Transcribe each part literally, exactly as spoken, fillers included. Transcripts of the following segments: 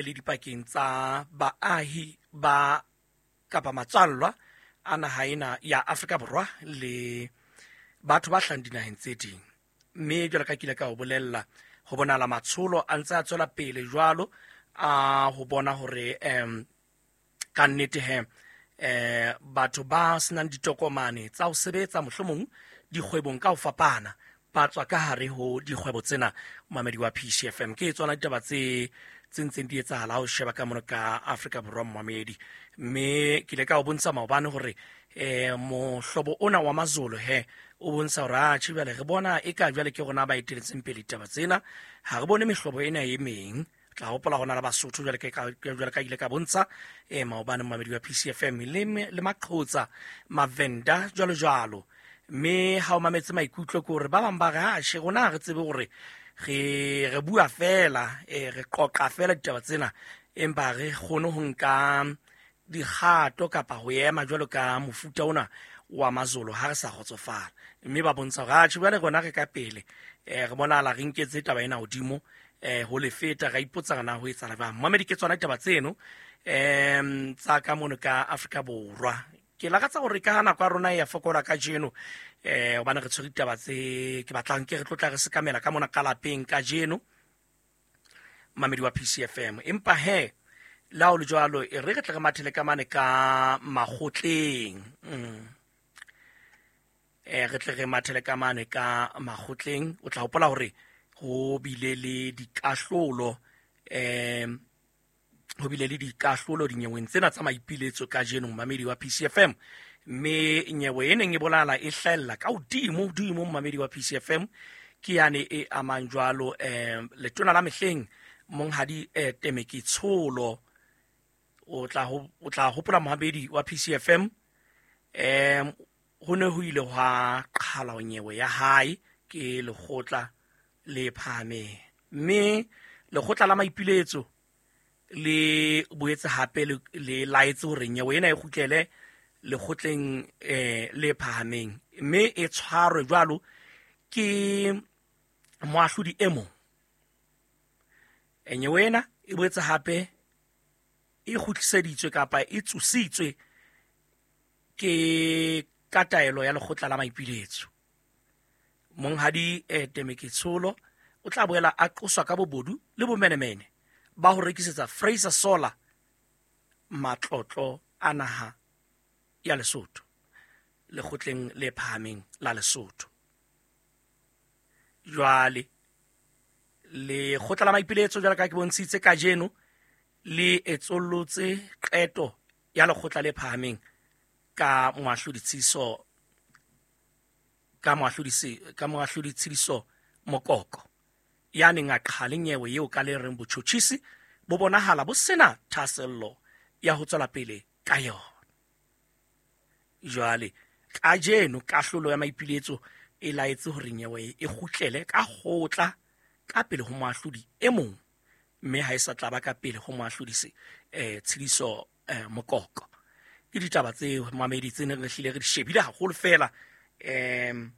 Le dipakeng tsa baahi ba kapa matswallwa a naha ena ya Afrika Borwa le batho ba hlahang dinaheng tse ding. Mme jwalo ka ke ile ka o bolella, ho bonahala matsholo a ntse a tswela pele jwalo a ho bona hore um ka nnete he eh batho ba senang ditokomane tsa ho sebetsa mohlomong dikgwebong ka ho fapana ba tswa ka hare ho dikgwebo tsena. Momamedi wa P C F M, ke tsona ditaba tse tse ntseng di etsahala ha o sheba ka mono ka Afrika Borwa, momamedi. Mme ke ile ka o bontsha maobane hore eh mohlobo ona wa Mazolo he o bontsha hore atjhe jwale re bona e ka jwale ke rona ba eteletseng pele ditaba tsena, ha re bone mehlobo ena e meng. Tla hopola hona le Basotho jwale ke ka jwale ka ile ka bontsha eh maobane momamedi wa P C F M le le Maqhotsa, Mavenda jwalo jwalo. Mme ha o mametse maikutlo ke hore ba bang ba re atjhe rona ha re tsebe hore re re bua fela, eh re qoqa fela ditaba tsena, empa re kgone ho nka dikgato kapa ho ema jwalo ka mofuta ona wa Mazolo ha re sa kgotsofala. Mme ba bontsha hore atjhe jwale rona re ka pele, eh re bonahala re nketse taba ena hodimo, eh ho le feta, ra ipotsa na ho etsahala jwang. Momamedi, ke tsona ditaba tseno em tsa ka mono ka Afrika Borwa. Ke lakatsa hore ka nako ya rona e ya fokola kajeno, eh hobane re tshwere ditaba tse ke batlang ke re tlotla re sekamela ka mona ka lapeng kajeno, momamedi wa P C F M. Empa he le ha ho le jwalo, e re re tle re mathele ka mane ka makgotleng. Mm. Eh re tle re mathele ka mane ka makgotleng. O tla hopola hore ho bile le dikahlolo, eh ho bile le dikahlolo dinyeweng tsena tsa maipiletso kajeno, momamedi wa P C F M. Mme nyewe e neng e bolala e hlahella ka hodimo hodimo, momamedi wa P C F M, ke yane e amang jwalo eh letona la mehleng monghadi eh Temeke Tsholo. O tla ho, o tla hopola momamedi wa P C F M, eh ho ne ho ile hwa qhala nyewe ya hae ke lekgotla le phahameng, mme lekgotla la maipiletso le boetse hape le, le laetse hore nyewe ena e kgutlele lekgotleng eh le phahameng, mme e tshwarwe jwalo ke moahlodi e mong. Nyewe ena e boetse hape e kgutliseditswe kapa e tsositswe ke ka taelo ya lekgotla la maipiletso. Monghadi eh Temeke Tsholo o tla boela a qoswa ka bobodu le bomenemene ba ho rekisetsa Fraser Solar matlotlo a naha ya Lesotho lekgotleng le phahameng la Lesotho. Jwale lekgotla la maipiletso jwalo ka ke bontshitse kajeno le etsollotse qeto ya lekgotla le phahameng ka moahlodi Tshiso ka moahlodi se ka moahlodi Tshidiso Mokoko ya neng a qhale nyewe eo ka le reng botjhotjhisi bo bonahala bo sena thahasello ya ho tswela pele ka yona. Jwale kajeno kahlolo ya maipiletso e laetse hore nyewe e kgutlele ka kgotla ka pele ho moahlodi e mong, mme ha e sa tla ba ka pele ho moahlodi se eh Tshidiso eh, Mokoko. Ke ditaba tse mamedi tse neng re hlile re di shebile haholo fela em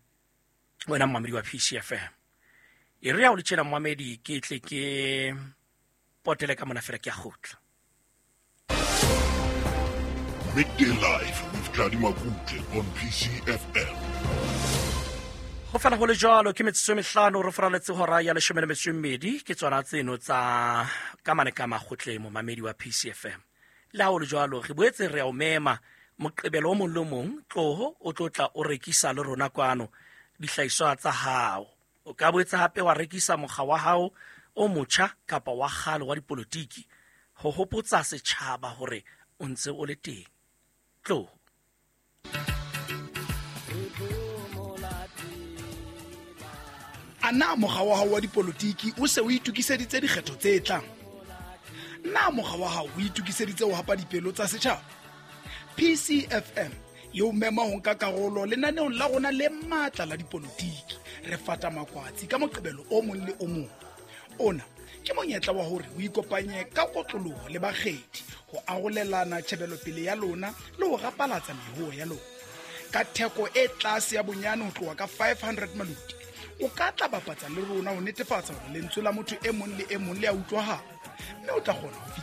wena momamedi wa P C F M. E re ha o le tjena momamedi, ke tle ke potele ka mona fela ke a kgutla. Midday Live with Tladi Makutle on P C F M. Ho fela ho le jwalo, ke metsotso e mehlano re foraletse hora ya leshome le metso e mmedi, ke tsona tseno tsa ka mane ka makgotleng momamedi wa P C F M. Le ha ho le jwalo, re boetse re a o mema Moqebelo o mong le o mong, tloho o tlo tla o rekisa le rona kwano dihlahiswa tsa hao. O ka boetse hape wa rekisa mokga wa hao o motjha kapa wa kgale wa dipolotiki ho hopotsa setjhaba hore o ntse o le teng. Tloho. A na mokga wa hao wa dipolotiki o se o itokiseditse dikgetho tse tlang? Na mokga wa hao o itokiseditse ho hapa dipelo tsa setjhaba? P C F M e o mema ho nka karolo lenaneong la rona le matla la dipolotiki. Re fata makwatsi ka Moqebelo o mong le o mong. Ona ke monyetla wa hore o ikopanye ka kotloloho le bakgethi ho arolelana tjhebelopele ya lona le ho rapalatsa mehoo ya lona. Ka theko e tlase ya bonyane ho tloha ka five hundred maluti, o ka tla bapatsa le rona ho netefatsa hore lentswe la motho e mong le e mong le a utlwahala. Mme o tla kgona ho